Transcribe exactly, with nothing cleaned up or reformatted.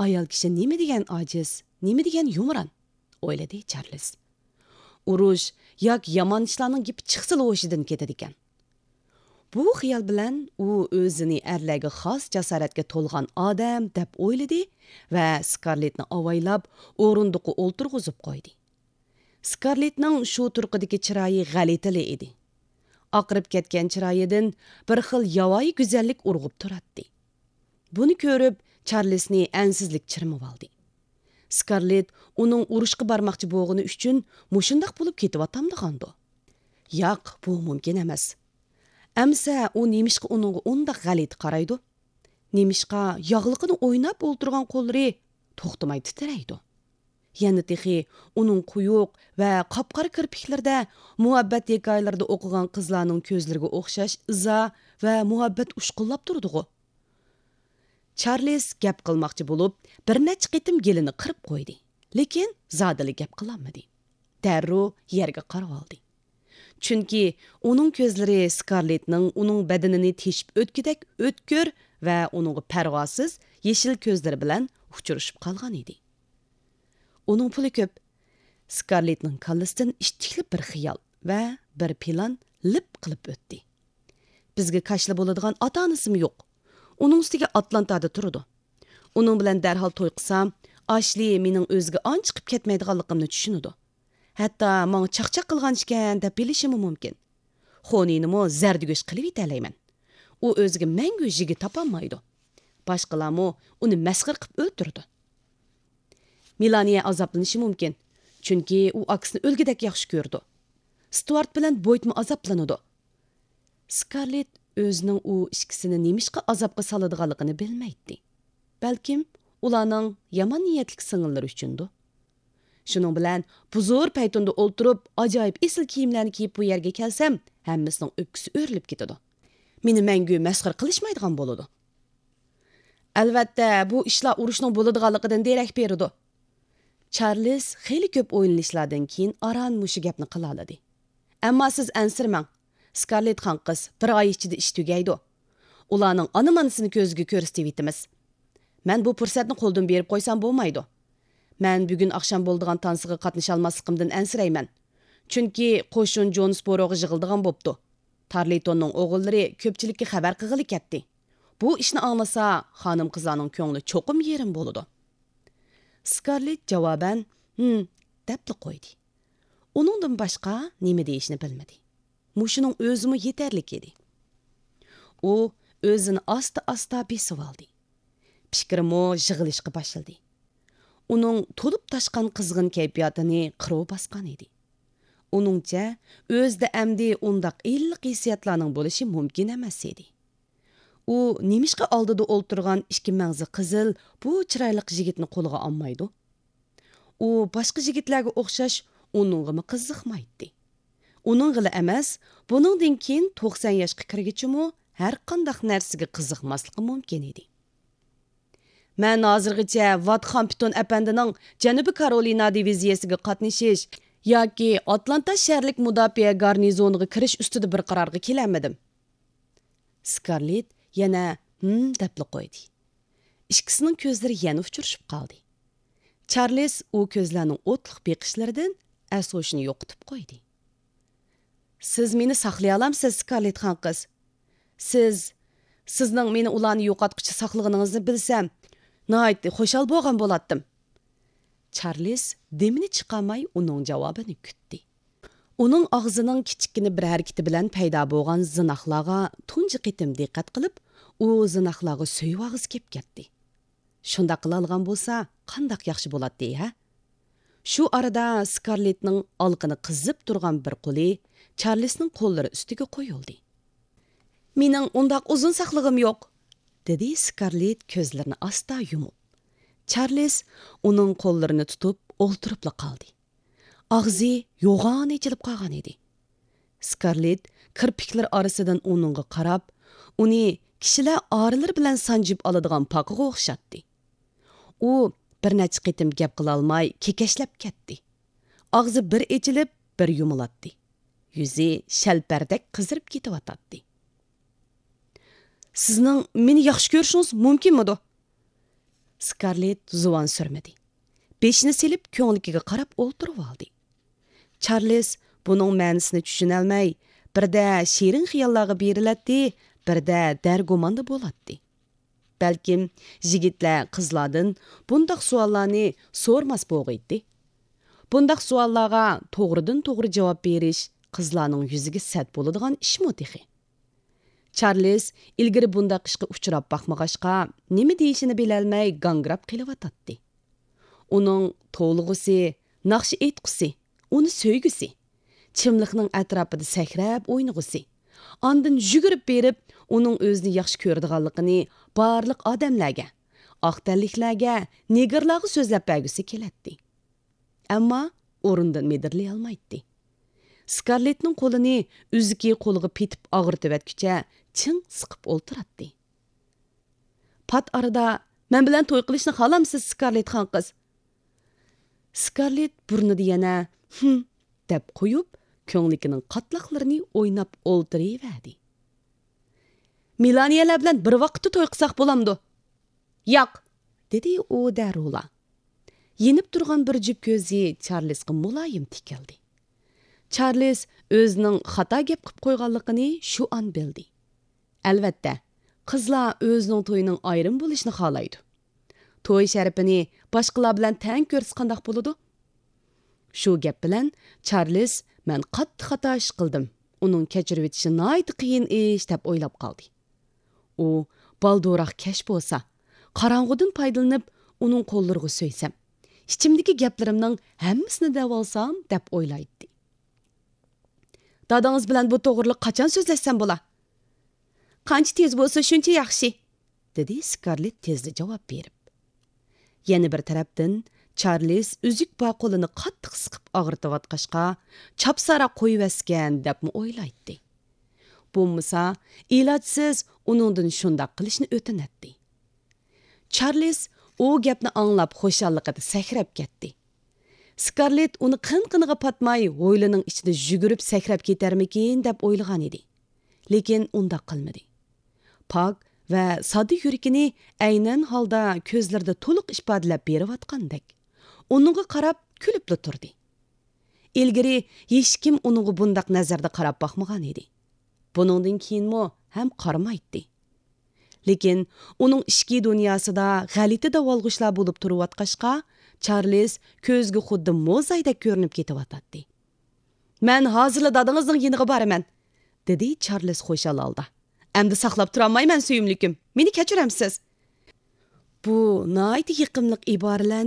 ئايال كىشى نېمە دېگەن ئاجىز، نېمە دېگەن يۇمران، ئويلىدى چارلىز. ئۇرۇش ياكى يامان ئىشلارنىڭ گېپى چىقسىلا ھوشىدىن كېتىدىكەن. بۇ خىيال بىلەن ئۇ ئۆزىنى ئەرلەرگە خاس جاسارەتكە تولغان ئادەم دەپ ئويلىدى ۋە سكارلېتنى ئاۋايلاپ ئورۇندۇققا ئولتۇرغۇزۇپ قويدى. سكارلېتنىڭ شۇ تۇرقىدىكى چىرايى غەلىتىلا ئىدى. ئاقىرىپ كەتكەن چىرايىدىن بىر خىل ياۋايى گۈزەللىك ئۇرغۇپ تۇراتتى. بۇنى كۆرۈپ، چارلىسنى ئەنسىزلىك چىرمىۋالدى. سكارلېت ئۇنىڭ ئۇرۇشقا بارماقچى بولغىنى ئۈچۈن مۇشۇنداق بولۇپ كېتىۋاتامدىغاندۇ؟ ياق، بۇ مۇمكىن ئەمەس. ئەمسە ئۇ نېمىشقا ئۇنىڭغا ئۇنداق غەلىتە قارايدۇ؟ نېمىشقا ياغلىقىنى ئويناپ ئولتۇرغان قوللىرى توختىماي تىترەيدۇ؟ يەنە تېخى ئۇنىڭ قويۇق ۋە قاپقارا كىرپىكلىرىدە مۇھەببەت ھېكايىلىرىدە ئوقۇغان قىزلارنىڭ كۆزلىرىگە ئوخشاش ئىزا ۋە مۇھەببەت ئۇچقۇنلاپ تۇرىدىغۇ. چارلىز گەپ قىلماقچى بولۇپ، بىر نەچچە قېتىم گېلىنى قىرىپ قويدى، لېكىن زادىلا گەپ قىلالمىدى. دەررۇ يەرگە قارىۋالدى. چۈنكى ئۇنىڭ كۆزلىرى سكارلېتنىڭ ئۇنىڭ بەدىنىنى تېشىپ ئۆتكۈدەك ئۆتكۈر ۋە ئۇنىڭغا پەرۋاسىز يېشىل كۆزلىرى بىلەن ئۇچرىشىپ قالغان ئىدى. ئۇنىڭ پۇلى كۆپ. سكارلېتنىڭ كاللىسىدىن ئىتتىكلىپ بىر خىيال ۋە بىر پىلان لىپ قىلىپ ئۆتتى. بىزگە كاشىلا بولىدىغان ئاتا-ئانىسىمۇ يوق. ئۇنىڭ ئۈستىگە ئاتلانتادا تۇرىدۇ. ئۇنىڭ بىلەن دەرھال توي قىلسام، ئاشلى مېنىڭ ئۆزىگە ئانچە چىقىپ كەتمەيدىغانلىقىمنى چۈشىنىدۇ. ھەتتا ماڭا چاقچاق قىلغان ئىكەن دەپ بىلىشىمۇ مۇمكىن. خونىنىمۇ زەردىگۆش قىلىۋېتەلەيمەن. ئۇ ئۆزىگە مەڭگۈ يىگىت تاپالمايدۇ. باشقىلارمۇ ئۇنى مەسخىرە قىلىپ ئۆلتۈرىدۇ. مېلانىيە ئازابلىنىشى مۇمكىن. چۈنكى ئۇ ئاكىسىنى ئۆلگۈدەك ياخشى كۆرىدۇ. ستۇئارت بىلەن بويتمۇ ئازابلىنىدۇ. سكارلېت ئۆزىنىڭ ئۇ ئىككىسىنى نېمىشقا ئازابقا سالىدىغانلىقىنى بىلمەيتتى. بەلكىم ئۇلارنىڭ يامان نىيەتلىك سىڭىللىرى ئۈچۈندۇ. شۇنىڭ بىلەن بۇ زور پەيتۇندا ئولتۇرۇپ، ئاجايىپ ئېسىل كىيىملەرنى كىيىپ بۇ يەرگە كەلسەم، ھەممىسىنىڭ ئۆپكىسى ئۆرۈلۈپ كېتىدۇ. مېنى مەڭگۈ مەسخىرە قىلىشمايدىغان بولىدۇ. ئەلۋەتتە، بۇ ئىشلار ئۇرۇشنىڭ بولىدىغانلىقىدىن دېرەك بېرىدۇ. چارلىز خېلى كۆپ ئويلىنىشلاردىن كېيىن ئاران مۇشۇ گەپنى قىلالىدى. ئەمما سىز ئەنسىرىمەڭ. سكارلېت خان قىز، بىر ئاي ئىچىدە ئىش تۈگەيدۇ. ئۇلارنىڭ ئانا-مانىسىنى كۆزىگە كۆرسىتىۋېتىمىز. مەن بۇ پۇرسەتنى قولدىن بېرىپ قويسام بولمايدۇ. مەن بۈگۈن ئاخشام بولىدىغان تانسىغا قاتنىشالماسلىقىمدىن ئەنسىرەيمەن. چۈنكى قوشۇن جونسبوروغا يىغىلىدىغان بوپتۇ. تارلىتوننىڭ ئوغۇللىرى كۆپچىلىككە خەۋەر قىلغىلى كەتتى. بۇ ئىشنى ئاڭلىسا، خانىم-قىزلارنىڭ كۆڭلى چوقۇم يېرىم بولىدۇ. سكارلېت جاۋابەن، ھىم، دەپلا قويدى. ئۇنىڭدىن باشقا نېمە دېيىشنى بىلمىدى. مۇشۇنىڭ ئۆزىمۇ يېتەرلىك ئىدى. ئۇ ئۆزىنى ئاستا-ئاستا بېسىۋالدى. پىكرىمۇ يىغىلىشقا باشلىدى. ئۇنىڭ تولۇپ تاشقان قىزغىن كەيپىياتىنى قىرىۋ باسقان ئىدى. ئۇنىڭچە، ئۆزىدە ئەمدى ئۇنداق ئىللىق ھېسسىياتلارنىڭ بولۇشى مۇمكىن ئەمەس ئىدى. ئۇ نېمىشقا ئالدىدا ئولتۇرغان ئىككى مەڭزى قىزىل بۇ چىرايلىق يىگىتنى قولىغا ئالمايدۇ؟ ئۇ باشقا يىگىتلەرگە ئوخشاش ئۇنىڭغىمۇ قىزىقمايتتى. ئۇنىڭغىلا ئەمەس، بۇنىڭدىن كېيىن توقسان ياشقا كىرگىچىمۇ ھەرقانداق نەرسىگە قىزىقماسلىقى مۇمكىن ئىدى. مەن ھازىرغىچە ۋات خامپتون ئەپەندىنىڭ جەنۇبىي كارولىنا دىۋىزىيەسىگە قاتنىشىش ياكى ئاتلانتا شەھەرلىك مۇداپىئە گارنىزونىغا كىرىش ئۈستىدە بىر قارارغا كېلەلمىدىم. سكارلېت يەنە ھىم دەپلا قويدى. ئىككىسىنىڭ كۆزلىرى يەنە ئۇچرىشىپ قالدى. چارلىز ئۇ كۆزلەرنىڭ ئوتلۇق بېقىشلىرىدىن ئەس-ھوشىنى يوقىتىپ قويدى. سىز مېنى ساقلىيالامسىز، سكارلېت خان قىز؟ سىز، سىزنىڭ مېنى ئۇلارنى يوقاتقۇچە ساقلىغىنىڭىزنى بىلسەم، ناھايىتى خۇشال بولغان بولاتتىم. چارلىز دېمىنى چىقارماي ئۇنىڭ جاۋابىنى كۈتتى. ئۇنىڭ ئاغزىنىڭ كىچىككىنە بىر ھەرىكىتى بىلەن پەيدا بولغان زىناقلارغا تۇنجى قېتىم دىققەت قىلىپ، ئۇ زىناقلارغا سۆيۈۋالغۇسى كېلىپ كەتتى. شۇنداق قىلالىغان بولسا، قانداق ياخشى بولاتتى، ھە؟ شۇ ئارىدا سكارلېتنىڭ ئالىقىنى قىزىپ تۇرغان بىر قولى چارلىزنىڭ قوللىرى ئۈستىگە قويۇلدى. مېنىڭ ئۇنداق ئۇزۇن ساقلىغۇم يوق، دېدى سكارلېت كۆزلىرىنى ئاستا يۇمۇپ. چارلىز ئۇنىڭ قوللىرىنى تۇتۇپ ئولتۇرۇپلا قالدى. ئاغزى يوغان ئېچىلىپ قالغان ئىدى. سكارلېت كىرپىكلىرى ئارىسىدىن ئۇنىڭغا قاراپ، ئۇنى كىشىلەر ئارىلىرى بىلەن سانجىپ ئالىدىغان پاقىغا ئوخشاتتى. ئۇ بىر نەچچە قېتىم گەپ قىلالماي كېكەچلەپ كەتتى. ئاغزى بىر ئېچىلىپ، بىر يۇمۇلاتتى. يۈزى شەلپەردەك قىزىرىپ كېتىۋاتاتتى. سىزنىڭ مېنى ياخشى كۆرۈشىڭىز مۇمكىنمىدۇ؟ سكارلېت زۇۋان سۈرمىدى. بېشىنى سېلىپ، كۆڭلىكىگە قاراپ ئولتۇرۇۋالدى. چارلىز بۇنىڭ مەنىسىنى چۈشىنەلمەي، بىردە شېرىن خىياللارغا بېرىلەتتى، بىردە دەرگۇماندا بولاتتى. بەلكىم يىگىتلەر قىزلاردىن بۇنداق سوئاللارنى سورىماس بولغىيتتى. بۇنداق سوئاللارغا توغرىدىن توغرا جاۋاب بېرىش قىزلارنىڭ يۈزىگە سەت بولىدىغان ئىشمۇ تېخى؟ چارلىز ئىلگىرى بۇنداق ئىشقا ئۇچراپ باقمىغاچقا، نېمە دېيىشىنى بىلەلمەي گاڭگىراپ قېلىۋاتاتتى. ئۇنىڭ توۋلىغۇسى، ناخشا ئېيتقۇسى، ئۇنى سۆيگۈسى، چىملىقنىڭ ئەتراپىدا سەكرەپ ئوينىغۇسى، ئاندىن يۈگۈرۈپ بېرىپ، ئۇنىڭ ئۆزىنى ياخشى كۆرىدىغانلىقىنى بارلىق ئادەملەرگە، ئاق تەنلىكلەرگە، نېگىرلارغا سۆزلەپ بەرگۈسى كېلەتتى. ئەمما ئورنىدىن مىدىرلىيالمايتتى. سكارلېتنىڭ قولىنى ئۆزىكى قولىغا پېتىپ ئاغرىتىۋەتكۈچە چىڭ سىقىپ ئولتۇراتتى. پات ئارىدا، «مەن بىلەن توي قىلىشنى خالامسىز، سكارلېت خان قىز؟» سكارلېت بۇرنىدا يەنە «ھىم» دەپ قويۇپ، كۆڭلىكىنىڭ قاتلاقلىرىنى ئويناپ ئولتۇرۇۋەردى. «مېلانىيەلەر بىلەن بىر ۋاقىتتا توي قىلساق بولامدۇ؟» «ياق!» دېدى ئۇ دەررۇلا. يېنىپ تۇرغان بىر جۈپ كۆزى چارلىزغا مۇلايىم تىكىلدى. چارلىز ئۆزىنىڭ خاتا گەپ قىپ قويغانلىقىنى شۇ ئان بىلدى. ئەلۋەتتە، قىزلار ئۆزىنىڭ تويىنىڭ ئايرىم بولۇشىنى خالايدۇ. توي شەرىپىنى باشقىلار بىلەن تەڭ كۆرسە قانداق بولىدۇ؟ شۇ گەپ بىلەن چارلىز «مەن قاتتىق خاتا ئىش قىلدىم، ئۇنىڭ كەچۈرۈۋېتىشى ناھايىتى قىيىن ئىش» دەپ ئويلاپ قالدى. ئۇ «بالدۇرراق كەچ بولسا، قاراڭغۇدىن پايدىلىنىپ، ئۇنىڭ قوللىرىغا سۆيسەم، ئىچىمدىكى گەپلىرىمنىڭ ھەممىسىنى دەۋالسام» دەپ ئويلايتتى. «دادىڭىز بىلەن بۇ توغرىلىق قاچان سۆزلەشسەم بولا؟» «قانچە تېز بولسا، شۇنچە ياخشى»، دېدى سكارلېت تېزلا جاۋاب بېرىپ. يەنە بىر تەرەپتىن، چارلىز ئۈزۈك بار قولىنى قاتتىق سىقىپ ئاغرىتىۋاتقاچقا، چاپساراق قويۇۋەتسىكەن دەپمۇ ئويلايتتى. بولمىسا، ئىلاجسىز ئۇنىڭدىن شۇنداق قىلىشنى ئۆتۈنەتتى. چارلىز ئۇ گەپنى ئاڭلاپ خۇشاللىقىدا سەكرەپ كەتتى. سكارلېت ئۇنى قىن-قىنىغا پاتماي ھويلىنىڭ ئىچىدە يۈگۈرۈپ سەكرەپ كېتەرمىكىن دەپ ئويلىغانىدى. لېكىن ئۇنداق قىلمىدى. پاك ۋە ساددا يۈرىكىنى ئەينەن ھالدا كۆزلىرىدە تولۇق ئىپادىلەپ بېرىۋاتقاندەك، ئۇنىڭغا قاراپ كۈلۈپلا تۇردى. ئىلگىرى ھېچكىم ئۇنىڭغا بۇنداق نەزەردە قاراپ باقمىغانىدى. بۇنىڭدىن كېيىنمۇ ھەم قارىمايتتى. لېكىن ئۇنىڭ ئىچكى دۇنياسىدا غەلىتە داۋالغۇشلار بولۇپ تۇرۇۋاتقاچقا، چارلىز كۆزگە خۇددى موزايدەك كۆرۈنۈپ كېتىۋاتاتتى. «مەن ھازىرلا دادىڭىزنىڭ يېنىغا بارىمەن»، دېدى چارلىز خۇشال ھالدا. «ئەمدى ساقلاپ تۇرالمايمەن، سۆيۈملۈكۈم، مېنى كەچۈرەمسىز؟» بۇ ناھايىتى يېقىملىق ئىبارىلەرنى